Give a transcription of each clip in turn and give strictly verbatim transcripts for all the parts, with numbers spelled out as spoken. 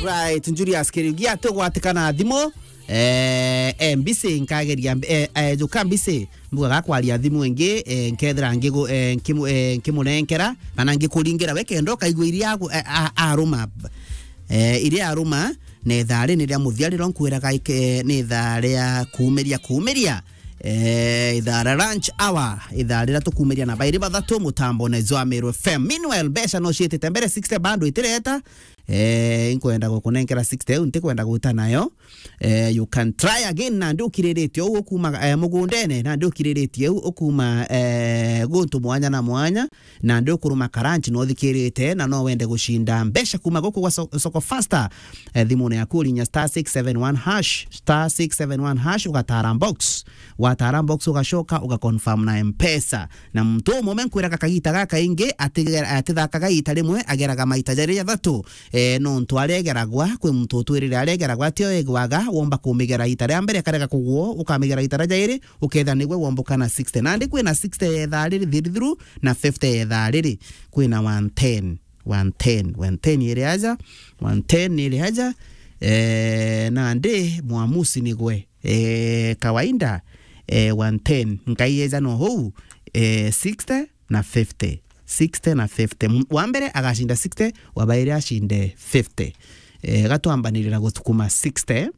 Right, Julius Kiriugi, ati ugwatikana thimu, eh, eh, mbisi nkageria mb-, eh, eh, juka mbisi, mbuga gakwaria thimu ingi, eh, nkethira ngigu-, eh, nkimu-, eh, nkimurenkera, kana ngikuringira we kenda ukaigua iria agu-, eh, a-, aruma. Eh, iria aruma, na ithaa ri ni ria muthia riria nkwiraga ike-, ni ithaa ria kuumiria, kuumiria. Eh, ithaa ria lunch hour, ithaa riria tukuumiria na bairi bathatu mutambo na Meru F M. Meanwhile, mbeca no ciitite mbere, sixty bado itireta. Eh, nkwenda gukunenkera sixty iu, ntikwenda gwita nayo. Eh, you can try again, nandi ukiriritie uu ukuma, eh, mugundene, nandi ukiriritie uu ukuma, eh, guntu mwanya na mwanya, nandi ukuruma karanchi no uthikirite, na no wende gucinda mbeca kuma guku gwa so-, Soko Faster. Eh, thimune yaku urinya star six seven one hash, star six seven one hash, ugatara box. Watara box ugacoka ugaconfirm na Mpesa. Na muntu umwe nkwiraga kagita gaka ingi atigera-, atithakaga ita rimwe, ageraga maita jari jathatu. Eh, nontu aregeragwa, kwi muntu utwirire aregeragwa, atio egwaga, womba kumigera ita ria mbere, karega kugwo, ukamigera ita ria jairi, ukethira nigwe womboka na sixty. Nandi kwina sixty ya ithaa riri thiri thiru, na fifty ya ithaa riri. Kwina one ten, one ten, one ten iri aja, one ten iri aja, eh, nandi mwamusi nigwe. Eh, kawaida, eh, one ten. Ngai eja no hou, eh, sixty na fifty. Sixty na fifty. M-, wa mbere agacinda sixty, wa bairi acinde fifty. Eh, gatwambanirira guthukuma sixty.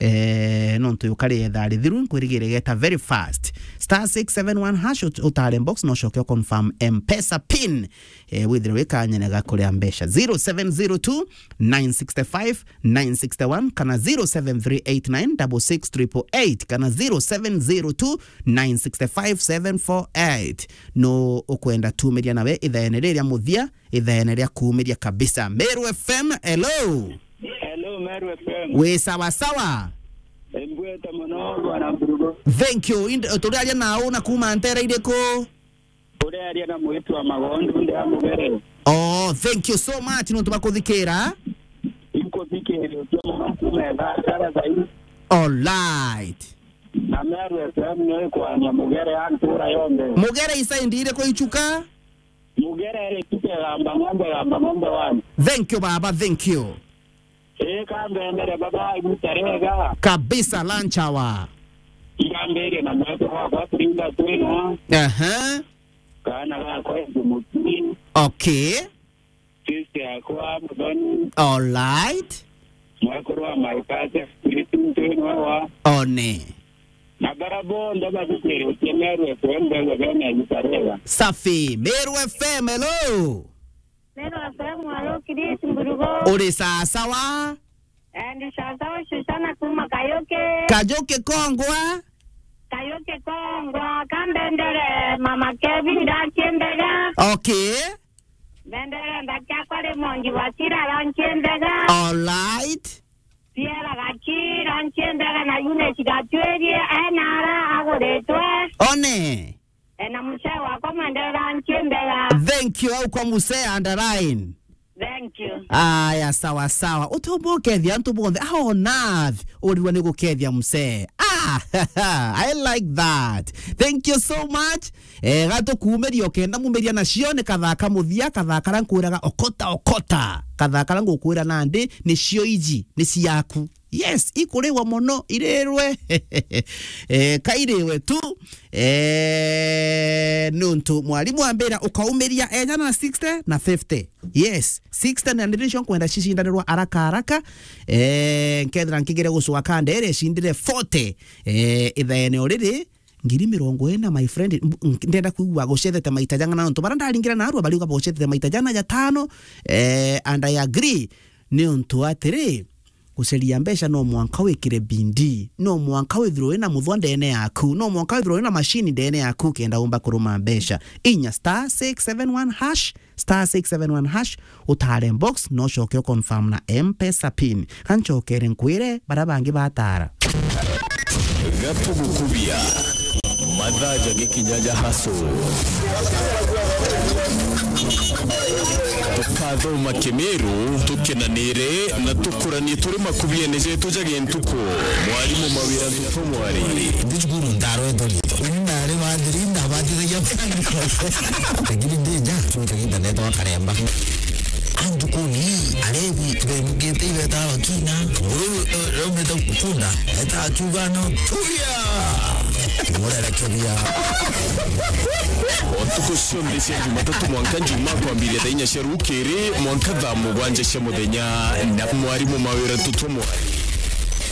Eh, nontu yukari etha rithiru, nkwirigire geta very fast. Star six seven one hash, ut-, utare box, no coke confirm Mpesa pin. Eh, withire wikanyene gakuria mbeca. Zero seven zero two, nine six five, nine six one, kana zero seven three eight nine double six triple eight, kana zero seven zero two, nine six five, seven four eight. No ukwenda tumiria nawe ithaene riria muthia, ithaene ria kumiria kabisa. Meru F M, hello. Hello, Meru F M. Wi sawa sawa? Mbwete mono, bwana Mburugo. Thank you. Ind-, turiaria nau na kuma ntera iriku? Urearia na mwitu wa Magondu ndi a Mugere. Oh, thank you so much nontu bakuthikira. Inkuthikiritie mono kuma etha cara thai. All right. Na Meru F M no ikwania Mugere a ntura yonthe. Mugere isaindi iriku ichuka? Mugere iri Chuka Gamba Ng'ombe, Gamba Ng'ombe one. Thank you, baba, thank you. Ii, kambendere baba, iguta riega. Kabisa, lunch hour. Irambirie na mwete wakwa Frida Twinwa. Aha. Kana gakwa Edu Muturi. Okay. Sister yakwa Muthoni. All right. Mwekuru wa Maikate, Spiritu Twinwa wa. One. Na bara bonthe bathikiritie Meru F M, mbegwe bena iguta riega. Safi. Meru F M, hello. Meru F M, alo, Chris Mburugo. Uri sawa sawa? Eh, ndi sawa sawa, Susana kuma Kayuki. Kayuki kongwa? Kayuki kongwa, kambendere Mama Kevin, ndakie mbega. Okay. Mbendere ndaki akwa Raymond Wasira, ndakie mbega. All right. Pierre Gachira, ndakie mbega, na Eunice Gatwirie, ena ara aguritwe. One. E, na mzee wakwa mwenderera nchi mbega. Thank you, au kwa mzee underline. Thank you. Aya, sawa sawa. Utumba ukethia antu bonthe. Ah, onath. Urirwa ni gukethia mzee. Ah, I like that. Thank you so much. Eh, gatukuumiria ukenda mumiria nacio ni kathaka muthia, kathaka ra nkwiraga okota, okota. Kathaka ra ngukwira nandi ni cio iji, ni ciaku. Yes, ikuriwa mono, irirwe. Eh, kairiwe tu. Eh, nuntu mwarimu ambira ukaumiria eja na sixty na fifty. Yes, sixty na ndio nicio nkwenda cicindanirwa haraka haraka. Eh, nkethira nkigire gucwa kandere cindire forty. Eh, ithaene o riri, ngiri mirongo ina, my friend, mb-, ndenda kwigua gucethete maita jang'ana nontu bara ndaringira narua bariuga bucethete maita jana jatano, eh, and I agree. Niuntu atiri, guceria mbeca no mwanka wikire bidii, no mwanka withirwe wina muthwa ndene yaku, no mwanka withirwe wina machine ndene yaku kenda umba kuruma mbeca. Inya star six seven one hash, star six seven one hash, utare box, no coke u confirm na M-Pesa pin. Ka ncokere nkwire, bara bangi batara. Gatugukubia. Mathaa ja gikinya ja hustle. Tukathoma Kimiru, tukenanire na tukuranie turi makubiene jetu ja gintuku. Mwarimu Mawira Thuto Mwari. Ndi cukuru ndarwetwo rito. Ni ndari wa thiri, ndabatithagia. Lakini ndija, cuma kagiita neetagwa Karemba. Antukuni, ari Ebi bemugite ibeta bakina. Uru raumite kunda eta akiuga no tuya. Murerekeria. Ntuku cionthe cia Jumatatu mwanka Njumaa kwambiria thaa inya cia rukiri mwanka thaa mugwanja cia muthenya na mwarimu mawira tutumwari.